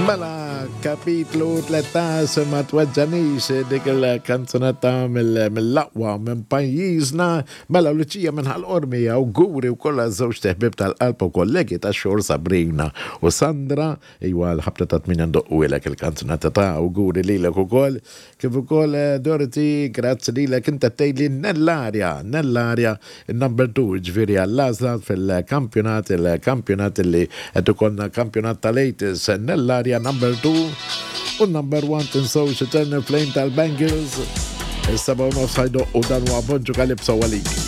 Mela, kapitlu 13 ma tweġġanix dik il-kanzunetta mill-aqwa minn pajjiżna. Mela, Luċija minn Ħal Qormi awguri wkoll għaż-żewġt iħbieb tal-qalb u kollegi tax-xogħol Sabrina u Sandra. Iwa l-ħabta ta' tmienja ndoqqulek il-kanzunetta ta' awguri lilek ukoll. Kif ukoll Dorothy, grazzi lilek inta tgħidli Nellaria, Nellaria in-number 2 jiġifieri għall-għażla fil-kampjonat, il-kampjonat li qed ikollna kampjonat tal-80s, Nellaria number 2 u number 1 tinsewx Eternal Flame tal-Bangles. Is-7 u nofs ħajdoqqu dan huwa Bonġu Calypso għalik.